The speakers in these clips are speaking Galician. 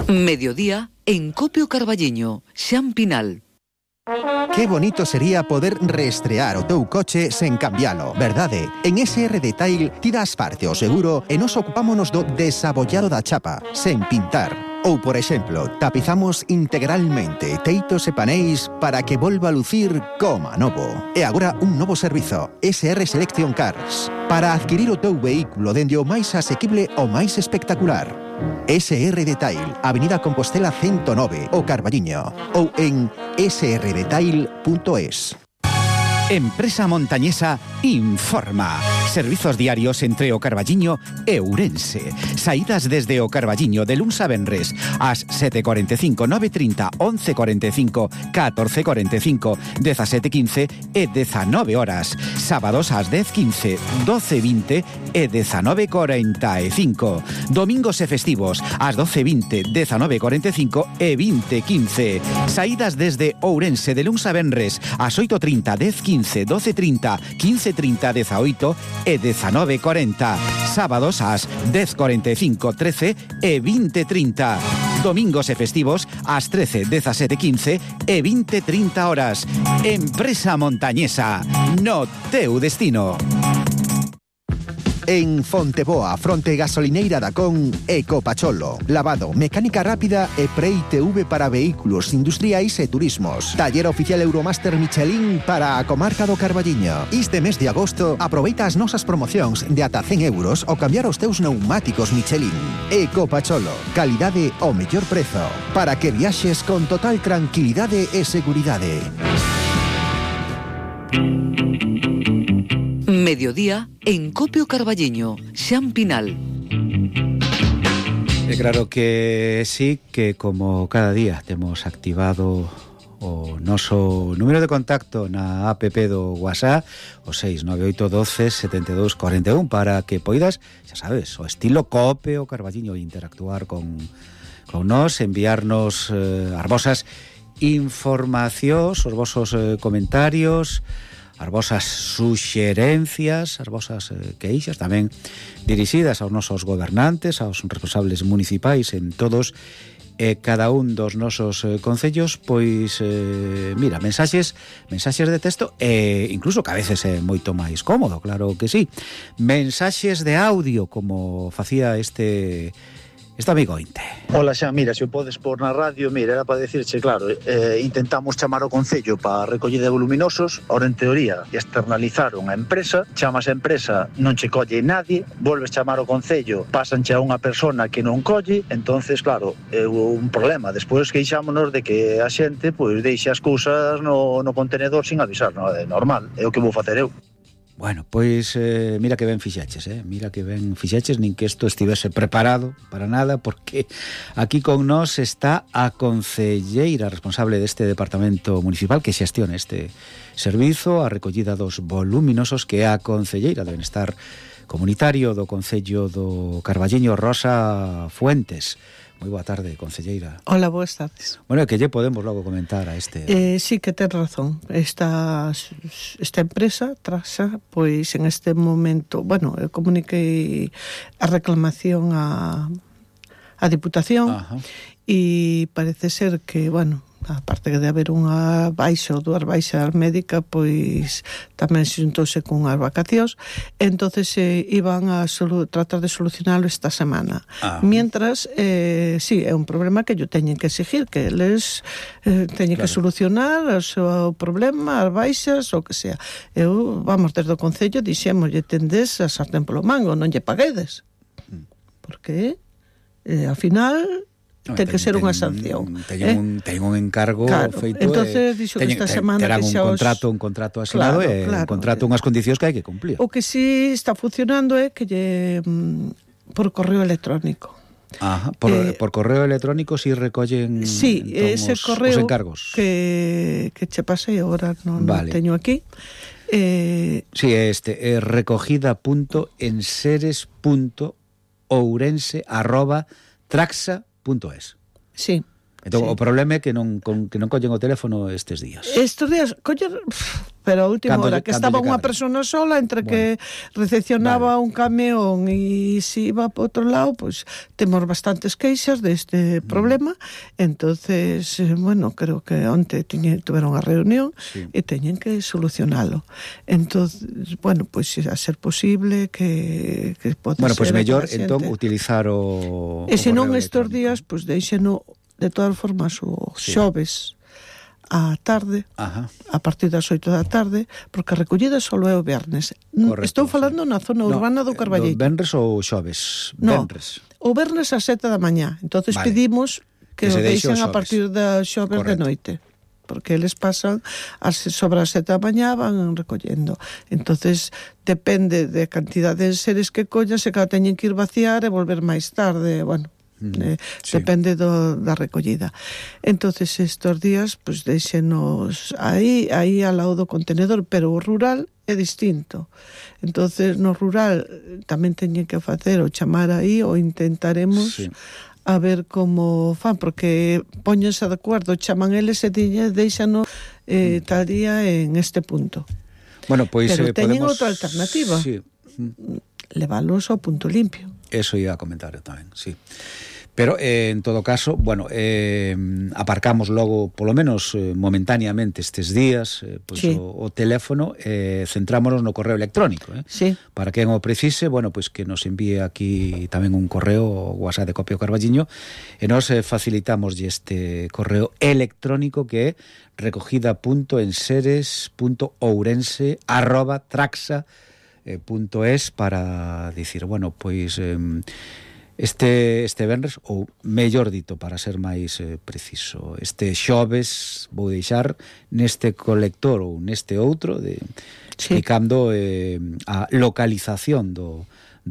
Mediodía en Copio Carballiño, Xan Pinal. Que bonito sería poder reestrear o teu coche sen cambialo, verdade? En SR Detail ti das parte ao seguro e nos ocupámonos do desabollado da chapa, sen pintar. Ou, por exemplo, tapizamos integralmente teitos e paneis para que volva a lucir como novo. E agora un novo servizo, SR Selection Cars, para adquirir o teu vehículo dende o máis asequible ao máis espectacular. SR Detail, Avenida Compostela 109, o Carballiño, ou en srdetail.es. Empresa Montañesa informa. Servizos diarios entre o Carballiño e Ourense. Saídas desde o Carballiño de luns a venres ás 7:45, 9:30, 11:45, 14:45, 17:15 e 19 horas. Sábados ás 10:15, 12:20 e 19:45. Domingos e festivos ás 12:20, 19:45 e 20:15. Saídas desde Ourense de luns a venres ás 8:30, 10:15, 12:30, 15:30, 18 e 19:40. Sábados ás 10:45, 13 e 20:30. Domingos e festivos ás 13, 17:15 e 20:30 horas. Empresa Montañesa, no teu destino. En Fonteboa, fronte gasolineira da Con, Ecopacholo. Lavado, mecánica rápida e pre-ITV para vehículos industriais e turismos. Taller oficial Euromaster Michelin para a comarca do Carballiño. Este mes de agosto, aproveita as nosas promocións de ata 100 euros ao cambiar os teus neumáticos Michelin. Ecopacholo, calidade ao mellor prezo, para que viaxes con total tranquilidade e seguridade. Mediodía en Copio Carballiño, Xan Pinal. É claro que sí, que como cada día temos activado o noso número de contacto na app do WhatsApp, o 69812 7241, para que poidas, xa sabes, o estilo Copio Carballiño, interactuar con nós, enviarnos as vosas informacións, os vosos comentarios, as vosas suxerencias, as vosas queixas, tamén dirixidas aos nosos gobernantes, aos responsables municipais en todos e cada un dos nosos concellos, pois, mira, mensaxes de texto e incluso que a veces é moito máis cómodo, claro que sí. Mensaxes de audio, como facía este amigo Inte. Hola xa, mira, se o podes pôr na radio, mira, era para decirche, claro, intentamos chamar ao Concello para a recollida de voluminosos, ahora en teoría externalizaron a empresa, chamas a empresa, non che colle nadie, volves chamar ao Concello, pásanche a unha persona que non colle, entonces, claro, é un problema. Despois queixámonos de que a xente, pois, deixa as cousas no contenedor sin avisar, non é normal, é o que vou facer eu. Bueno, pois mira que ben fixaches, mira que ben fixaches, nin que isto estivese preparado para nada, porque aquí con nós está a concelleira responsable deste departamento municipal que xestiona este servizo, a recollida dos voluminosos, que é a concelleira de Benestar Comunitario do Concello do Carballiño, Rosa Fuentes. Moi boa tarde, concelleira. Hola, boas tardes. Bueno, que lle podemos logo comentar a este... Sí que ten razón. Esta empresa, Traxa, pois en este momento, bueno, comuniquei a reclamación a Diputación. Ajá. E parece ser que, bueno, aparte de haber unha baixa ou dúas baixas médica, pois tamén se xuntouse con as vacacións, entonces iban a tratar de solucionalo esta semana. Mientras, sí, é un problema que yo teñen que exigir, que eles teñen que solucionar o seu problema, as baixas, o que sea. Eu, vamos, desde o Concello dixemos, lle tendes a sartén polo mango, non lle paguedes. Porque, ao final... ten que ser unha sanción. Ten un encargo, claro, feito. Entonces dixo que esta semana terán un contrato asinado, claro, un contrato, unhas condicións que hai que cumplir. O que sí está funcionando é que por correo electrónico. Ajá, por correo electrónico si recollen ese correo os encargos que che pasei, agora non teño aquí. Sí, é recogida.enseres.ourense@traxa.es. Sí. Entón, Sí. o problema é que non collen o teléfono estes días. Estes días, coller, pero a última Cando hora, lle- que cando estaba lle unha cadre. persona sola entre que recepcionaba un camión e se iba para outro lado, pois temos bastantes queixas deste problema. Entonces, bueno, creo que onte tuveron a reunión e teñen que solucionalo. Entonces, bueno, pois a ser posible que pode Bueno, ser pois que mellor a xente- entón utilizar o E se non correo estes electrónico. días, pois deixeno de todas formas o xoves á tarde, Ajá. a partir das 8 da tarde, porque a recollida só é o vernes. Correcto, Estou falando na zona urbana do Carballito. Venres ou xoves? No, Venres. o vernes ás 7 da mañá. Entonces Vale. pedimos Que que o se deixe o deixen a xoves. partir da xoves de Correcto. noite, porque eles pasan sobre as 7 da mañá, van recollendo. Entonces depende de cantidad de seres que collan, se cada teñen que ir vaciar e volver máis tarde, bueno, sí. depende da recollida. Entonces estos días pues deixenos aí ao lado do contenedor, pero o rural é distinto. Entonces no rural tamén teñen que facer o chamar aí ou intentaremos Sí. a ver como fan, porque póñense de acordo, chaman eles e deixano tal día en este punto. Bueno, pois Pero teñen podemos... outra alternativa. Sí. Leválos ao punto limpio. Eso iba a comentar eu tamén, sí. Pero, en todo caso, bueno, aparcamos logo, polo menos momentáneamente estes días, pois Sí. o teléfono, centrámonos no correo electrónico, Sí. Para quen o precise, bueno, pois que nos envíe aquí tamén un correo, o WhatsApp de Copio Carballiño, e nos facilitamos este correo electrónico que é recogida.enseres.ourense@traxa.es para dicir, bueno, pois este venres, ou mellor dito, para ser máis preciso, este xoves vou deixar neste colector ou neste outro explicando a localización do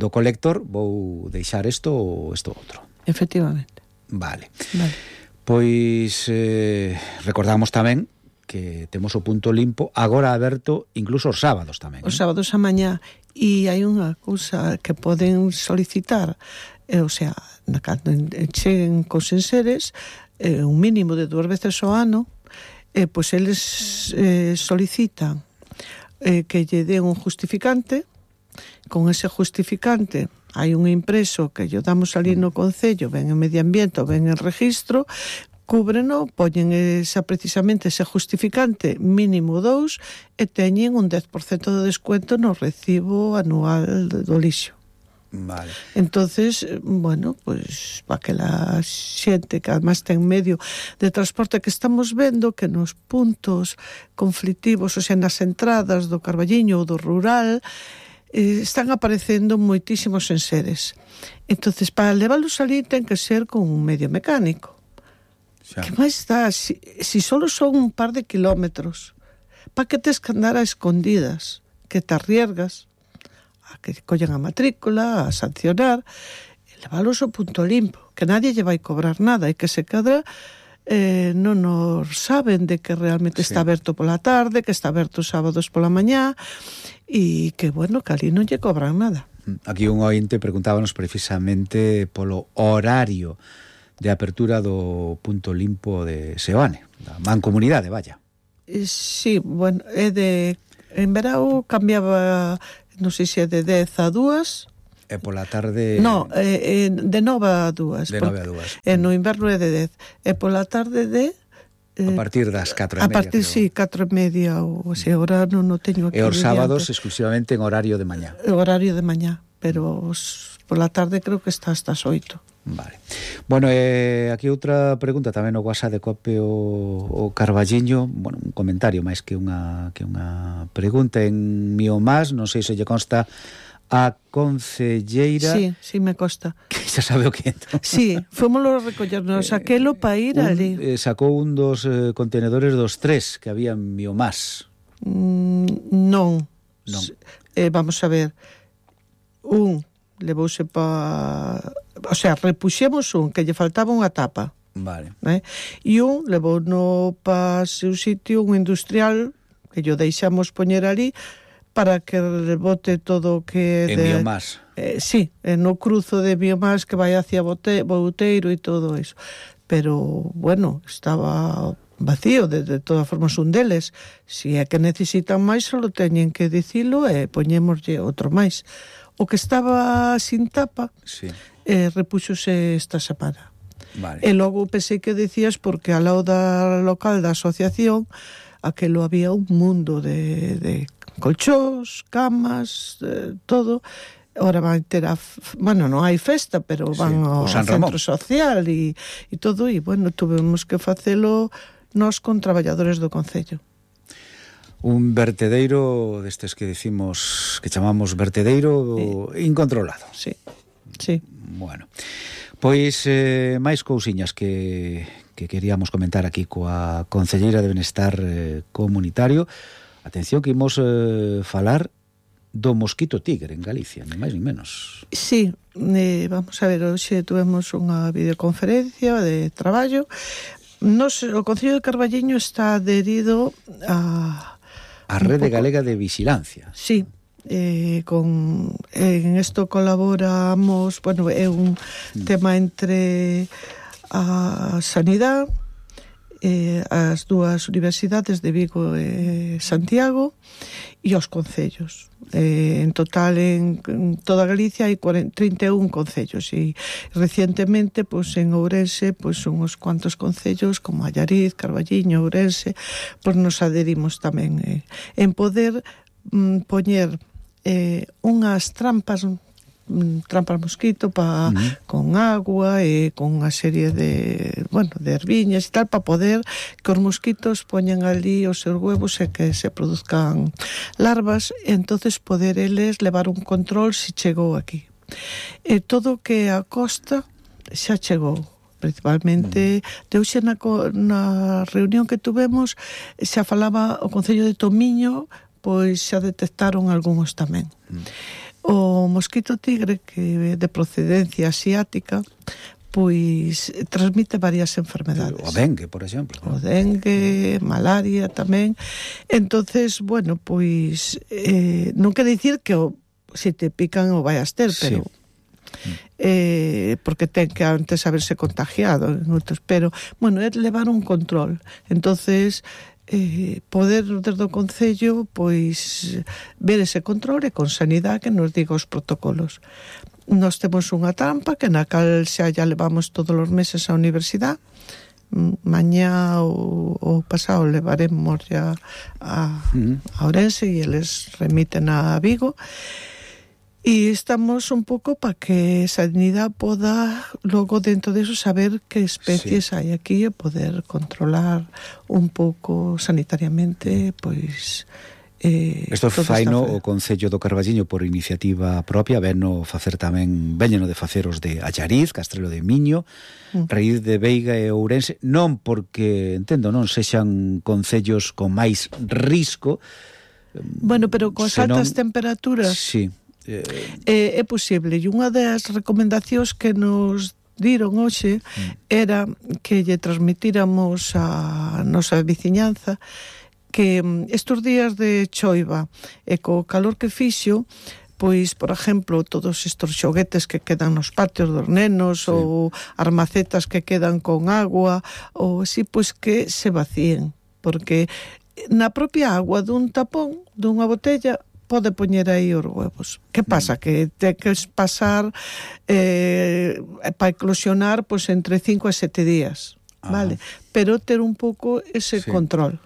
colector, vou deixar isto ou isto outro. Efectivamente. Vale. Vale. Pois recordamos tamén que temos o punto limpo agora aberto incluso os sábados tamén. Os sábados a mañá, e hai unha cousa que poden solicitar, o sea, cando cheguen cos enseres, un mínimo de 2 veces ao ano, pois eles solicitan que lle den un justificante. Con ese justificante hai un impreso que lle damos ali no Concello, ben en Medio Ambiente ou ben en Registro, cúbreno, poñen precisamente ese justificante mínimo 2 e teñen un 10% de descuento no recibo anual do lixo. Vale. Entonces, bueno, pues para que la xente que además ten medio de transporte que estamos vendo que nos puntos conflictivos, o sea, nas entradas do Carballiño ou do rural, están aparecendo moitísimos enseres. Entonces, para leválos ali ten que ser con un medio mecánico. Xa. Que máis dá? Si solo son un par de kilómetros, para que tes que andar a escondidas, que te arriesgas a que collen a matrícula, a sancionar, e leválos ao punto limpo, que nadie lle vai cobrar nada, e que se cadra non nos saben de que realmente está aberto pola tarde, que está aberto os sábados pola mañá, e que, bueno, que ali non lle cobran nada. Aquí un ointe preguntábanos precisamente polo horario de apertura do punto limpo de Seoane, da mancomunidade, vaya. Sí, bueno, en verao cambiaba, non sei se é de 10 a 2. E pola tarde... No, de 9 a 2. De 9 a 2. No inverno é de 10. E pola tarde de... A partir das 4:30. A partir, sí, 4:30, ou se agora non teño aquí. E os sábados exclusivamente en horario de mañá. Horario de mañá, pero pola tarde creo que está hasta as 8. Vale. Bueno, aquí outra pregunta tamén no WhatsApp de Cope o Carballiño, bueno, un comentario máis que unha pregunta en Miomás, non sei se lle consta a concelleira. Sí, me consta. Que xa sabe o que entón. Sí, fomoslo a recollernos aquelo para ir ali. Sacou un dos contenedores dos 3 que había en Miomás. Non. Vamos a ver. Un levouse o sea, repuxemos un que lle faltaba unha tapa. Vale. E un levou no pa seu sitio un industrial que yo deixamos poñer ali para que rebote todo o que en Biomás. Sí, no cruzo de Biomás que vai hacia Bouteiro e todo eso. pero, bueno, estaba vacío, de todas formas un deles. Si é que necesitan máis, só teñen que dicilo e poñémoslle outro máis. O que estaba sin tapa, sí, repúxose esta semana. Vale. E logo pensei que decías porque ao lado da local da asociación aquelo había un mundo de colchós, camas, todo. Ora van ter bueno, non hai festa, pero van ao centro social e todo, e bueno, tuvemos que facelo nós con traballadores do concello. Un vertedeiro destes que decimos, que chamamos vertedeiro incontrolado. Sí, sí. Bueno, pois máis cousiñas que queríamos comentar aquí coa Concelleira de Benestar Comunitario. Atención que imos falar do mosquito tigre en Galicia, ni máis ni menos. Sí, vamos a ver, hoxe tuvemos unha videoconferencia de traballo. O Concello de Carballiño está adherido a Rede Galega de Vigilancia. Sí, en isto colaboramos, bueno, é un tema entre a Sanidade, as dúas universidades de Vigo e Santiago e os concellos. En total, en toda Galicia hai 31 concellos e recientemente, pois, en Ourense, pois, uns cuantos concellos como Allariz, Carballiño, Ourense, pois nos adherimos tamén en poder poñer unhas trampas mosquito con agua e con unha serie de erviñas e tal, para poder que os mosquitos poñan ali os seus huevos e que se produzcan larvas, e entonces poder eles levar un control se chegou aquí. E todo o que a costa xa chegou, principalmente de hoxe na reunión que tuvemos xa falaba o Concello de Tomiño, pois xa detectaron algúns tamén. O mosquito tigre, que é de procedencia asiática, pois transmite varias enfermedades. O dengue, por exemplo. O dengue, malaria tamén. Entonces, bueno, pois non quer dicir que se te pican o vai a ter, pero porque ten que antes haberse contagiado, pero, bueno, é levar un control. Entonces, poder desde o Concello pois ver ese control e con Sanidade que nos diga os protocolos. Nós temos unha trampa que na cal xa levamos todos os meses á universidade. Mañá ou pasado levaremos ya a Ourense e eles remiten a Vigo. E estamos un pouco para que Sanidade poda logo dentro de eso saber que especies hai aquí e poder controlar un pouco sanitariamente, pois isto faino o Concello do Carballiño por iniciativa propia, veñeno de facer os de Allariz, Castrelo de Miño, Raíz de Veiga e Ourense, non porque, entendo, non sexan concellos con máis risco. Bueno, pero coas altas temperaturas. Sí. É posible, e unha das recomendacións que nos diron hoxe era que lle transmitíramos a nosa veciñanza que estes días de choiva e co calor que fixo, pois, por exemplo, todos estes xoguetes que quedan nos patios dos nenos, ou armacetas que quedan con agua, ou así, pois que se vacíen, porque na propia agua dun tapón, dunha botella, pode poñer aí os huevos. Que pasa? Que ten que pasar para eclosionar pois entre 5 e 7 días, vale? Pero ter un pouco ese control.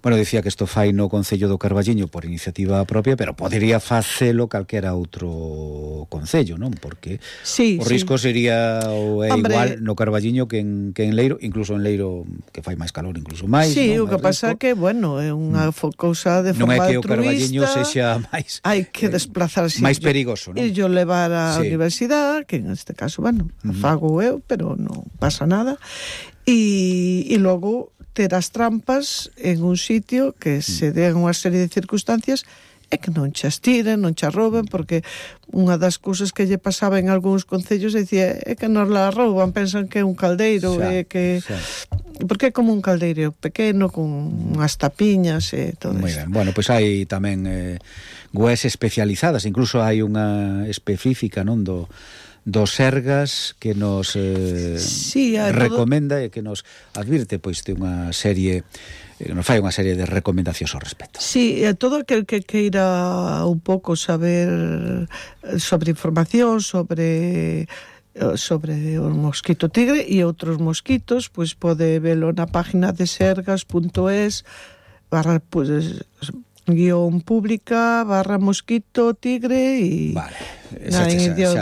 Bueno, dicía que isto fai no Concello do Carballiño por iniciativa propia, pero podería facelo calquera outro concello, non? Porque o risco sería igual no Carballiño que en Leiro, incluso en Leiro que fai máis calor, incluso máis. Sí, o que pasa é que, bueno, é unha cousa de forma altruista. Non é que o Carballiño sexa máis... Hai que desplazarse. Máis perigoso, non? E yo levar á universidade, que en este caso, bueno, fago eu, pero non pasa nada. E logo ter as trampas en un sitio que se den unha serie de circunstancias e que non che estiren, non che rouben, porque unha das cousas que lle pasaba en algúns concellos dicía é que nos la rouban, pensan que é un caldeiro, porque é como un caldeiro pequeno con unhas tapiñas e todo isto. Bueno, pois hai tamén webs especializadas, incluso hai unha específica, non, do Sergas que nos recomenda e que nos advirte pois de unha serie, nos fai unha serie de recomendacións ao respecto. Sí, todo aquel que queira un pouco saber sobre información sobre o mosquito tigre e outros mosquitos, pois pode velo na página de sergas.es /guión pública /mosquito tigre e vale, xa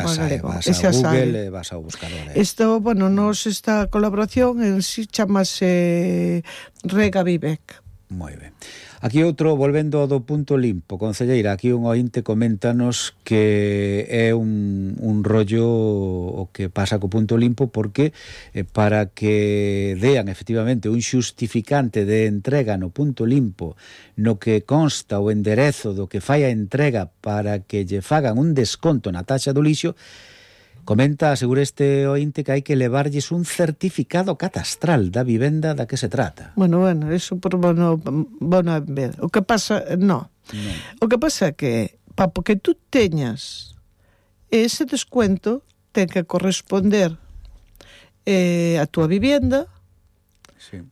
vas a Google e vas a buscarlo. Isto, bueno, esta colaboración en si chamase Rega Vivec. Moi ben. Aquí outro, volvendo ao do punto limpo, concelleira, aquí un ointe coméntanos que é un rollo o que pasa co punto limpo, porque para que dean efectivamente un xustificante de entrega no punto limpo no que consta o enderezo do que fai a entrega para que lle fagan un desconto na taxa do lixo, comenta, asegura este ointe que hai que levarlles un certificado catastral da vivenda da que se trata. Bueno, eso por bueno a ver. O que pasa, no. O que pasa é que para que tú teñas ese descuento ten que corresponder a túa vivenda, sí.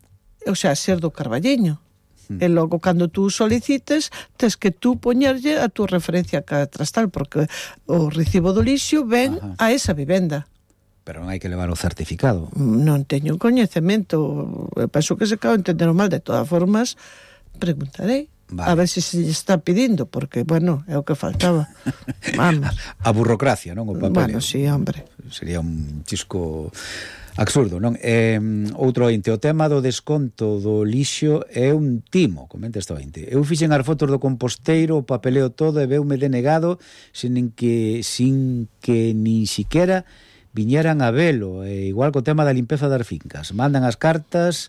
O sea, ser do Carballiño. E logo, cando tú solicites, tens que tú poñerlle a túa referencia catastral, porque o recibo do lixo ven a esa vivenda. Pero non hai que levar o certificado. Non teño coñecemento. Penso que se acaba de entender mal. De todas formas, preguntarei. Vale. A ver se está pedindo, porque, bueno, é o que faltaba. Vamos. A burocracia, non? O papel. Bueno, sí, hombre. Sería un chisco absurdo, non? Outro ointe, o tema do desconto do lixo é un timo, comenta este ointe. Eu fixen as fotos do composteiro, o papeleo todo e veume denegado sin que nin siquiera viñeran a velo. Igual co tema da limpeza das fincas. Mandan as cartas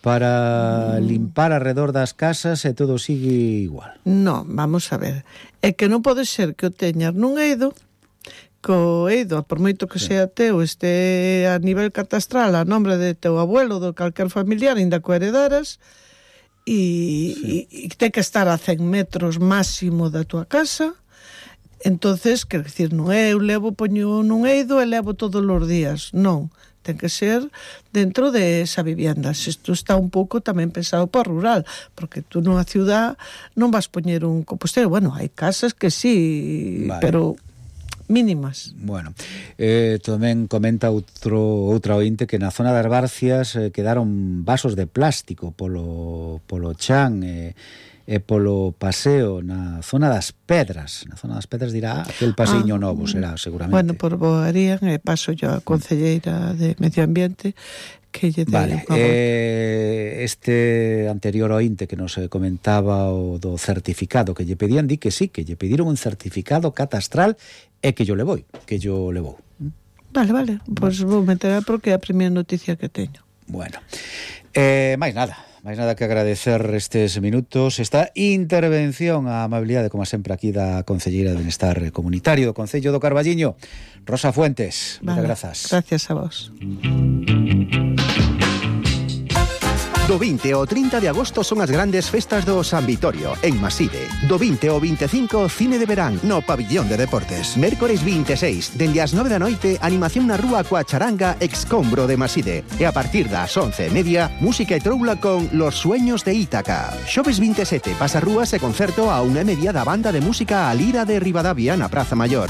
para limpar alrededor das casas e todo sigue igual. No, vamos a ver. É que non pode ser que o teñas nun eido, co eido, por moito que sea teu, este a nivel catastral a nombre de teu abuelo, do calquer familiar, ainda co heredaras, e ten que estar a 100 metros máximo da tua casa. Entonces, quer dicir, non é eu poño nun eido e levo todos os días, non. Ten que ser dentro de esa vivienda. Isto está un pouco tamén pensado para rural, porque tú nunha ciudad non vas poñer un composteiro. Bueno, hai casas que sí, vale, pero mínimas. Bueno, tamén comenta outra ointe que na zona das Barcias quedaron vasos de plástico polo chan e polo paseo na zona das Pedras. Na zona das Pedras dirá aquel paseiño novo, será seguramente. Bueno, por Boarían, paso yo a concelleira de Medio Ambiente que lle vale, este anterior ointe que nos comentaba o do certificado que lle pedían, di que sí, que lle pediron un certificado catastral e que yo levou. Vale, pois vou meter porque é a primeira noticia que teño. Bueno, máis nada que agradecer estes minutos, esta intervención, a amabilidade, como sempre, aquí da Concelleira de Benestar Comunitario do Concello do Carballiño, Rosa Fuentes. Moitas grazas. Gracias a vos. Do 20 ao 30 de agosto son as grandes festas do San Vitorio, en Maside. Do 20 ao 25, cine de verán no Pabillón de Deportes. Mércores 26, dende as 9 da noite, animación na rúa coa charanga Excombro de Maside. E a partir das 11:30, música e troula con Los Sueños de Ítaca. Xoves 27, pasarrúas e concerto a 1:30 da banda de música A Lira de Ribadavia na Praza Maior.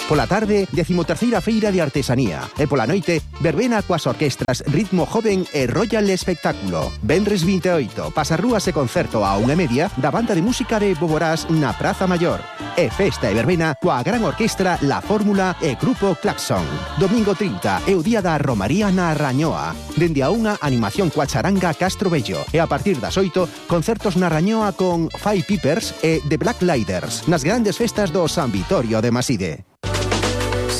Pola tarde, 13ª Feira de Artesanía. E pola noite, verbena coas orquestras Ritmo Joven e Royal Espectáculo. Venres 28, pasarrúas e concerto a 1:30 da banda de música de Boborás na Praza Maior. E festa e verbena coa gran orquestra La Fórmula e Grupo Claxon. Domingo 30 é o día da Romaría na Rañoa. Dende a 1, animación coa charanga Castro Bello. E a partir das 8, concertos na Rañoa con Five Pipers e The Black Lighters nas grandes festas do San Vitorio de Maside.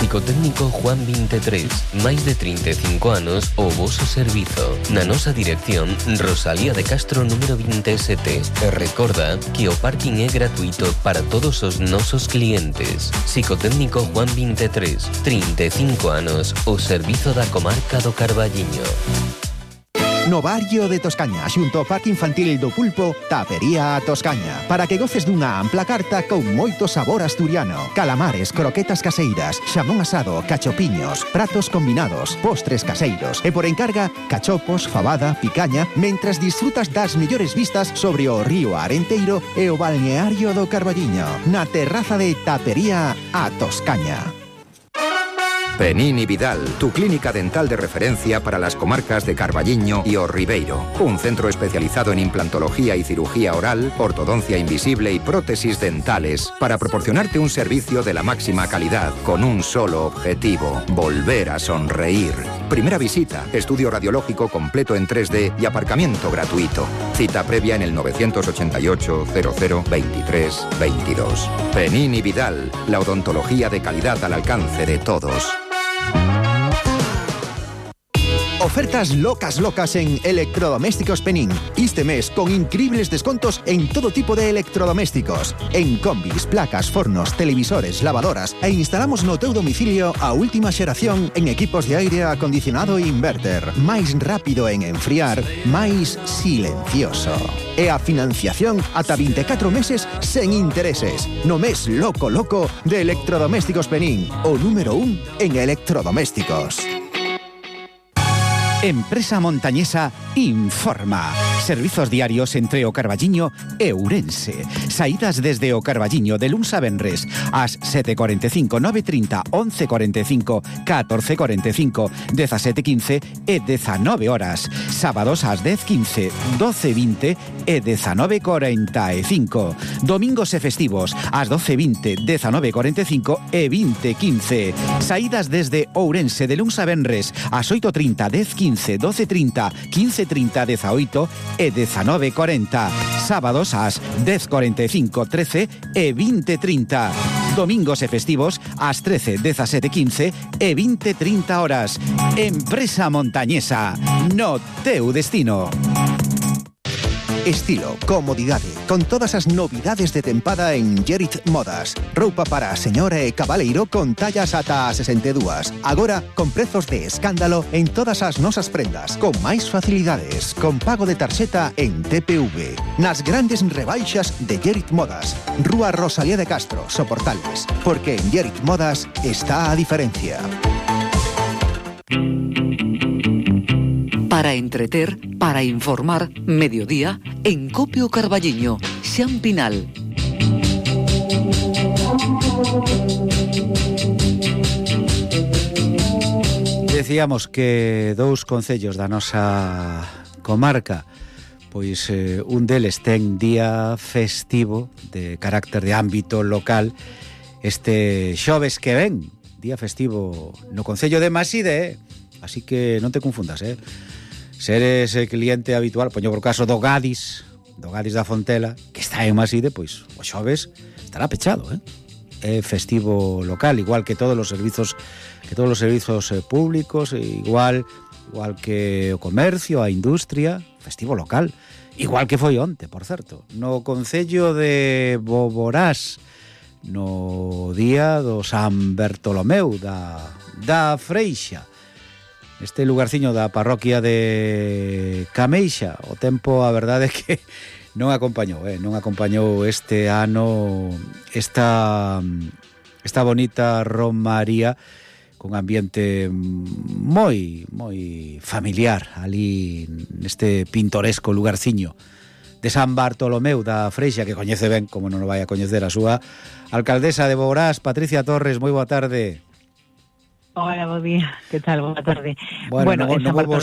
Psicotécnico Juan 23, máis de 35 anos o voso servizo. Na nosa dirección, Rosalía de Castro número 27. E recorda que o parking é gratuito para todos os nosos clientes. Psicotécnico Juan 23, 35 anos, o servizo da comarca do Carballiño. No barrio de Toscaña, xunto ao Parque Infantil do Pulpo, Tapería Toscaña, para que goces dunha ampla carta con moito sabor asturiano. Calamares, croquetas caseiras, xamón asado, cachopiños, pratos combinados, postres caseiros e por encarga, cachopos, fabada, picaña, mentras disfrutas das mellores vistas sobre o río Arenteiro e o balneario do Carballiño, na terraza de Tapería a Toscaña. Penín y Vidal, tu clínica dental de referencia para las comarcas de Carballiño y O Ribeiro. Un centro especializado en implantología y cirugía oral, ortodoncia invisible y prótesis dentales para proporcionarte un servicio de la máxima calidad con un solo objetivo: volver a sonreír. Primera visita, estudio radiológico completo en 3D y aparcamiento gratuito. Cita previa en el 988 00 23 22. Penín y Vidal, la odontología de calidad al alcance de todos. Ofertas locas en Electrodomésticos Penín. Este mes con increíbles descontos en todo tipo de electrodomésticos. En combis, placas, fornos, televisores, lavadoras e instalamos no teu domicilio a última xeración en equipos de aire acondicionado e inverter. Máis rápido en enfriar, máis silencioso. E a financiación ata 24 meses sen intereses. No mes loco de Electrodomésticos Penín, o número 1 en electrodomésticos. Empresa Montañesa informa. Servizos diarios entre o Carballiño e Ourense. Saídas desde o Carballiño de luns a venres ás 7:45, 9:30, 11:45, 14:45, 17:15 e 19 horas. Sábados ás 10:15, 12:20 e 19:45. Domingos e festivos ás 12:20, 19:45 e 20:15. Saídas desde Ourense de luns a venres ás 8:30, 10:15, 12:30, 15:30, 18 e 19:40. Sábados ás 10:45, 13 e 20:30. Domingos e festivos ás 13, 17:15 e 20:30 horas. Empresa Montañesa, no teu destino. Estilo, comodidade, con todas as novidades de tempada en Gerit Modas. Roupa para a señora e cabaleiro con tallas ata a 62. Agora, con prezos de escándalo en todas as nosas prendas, con máis facilidades, con pago de tarxeta en TPV. Nas grandes rebaixas de Gerit Modas. Rúa Rosalía de Castro, Soportales. Porque en Gerit Modas está a diferencia. Para entreter, para informar, mediodía, en Copio Carballiño, Xan Pinal. Decíamos que dous concellos da nosa comarca, pois un deles ten día festivo de carácter de ámbito local este xoves que ven, día festivo no concello de Maside, así que non te confundas, Se eres cliente habitual, poño por caso do Gadis da Fontela, que está en Maside, pois o xoves estará pechado, É festivo local, igual que todos os servizos públicos, igual que o comercio, a industria, festivo local, igual que foi onte, por certo, no concello de Boborás, no día do San Bertolomeu da Freixa. Este lugarciño da parroquia de Cameixa, o tempo, a verdade é que non acompañou este ano esta bonita romaría con ambiente moi familiar ali neste pintoresco lugarciño de San Bartolomeu da Freixa, que coñece ben, como non o vai a coñecer a súa alcaldesa de Boborás, Patricia Torres. Moi boa tarde. Hola, bo día. Que tal? Boa tarde. Bueno, non volvo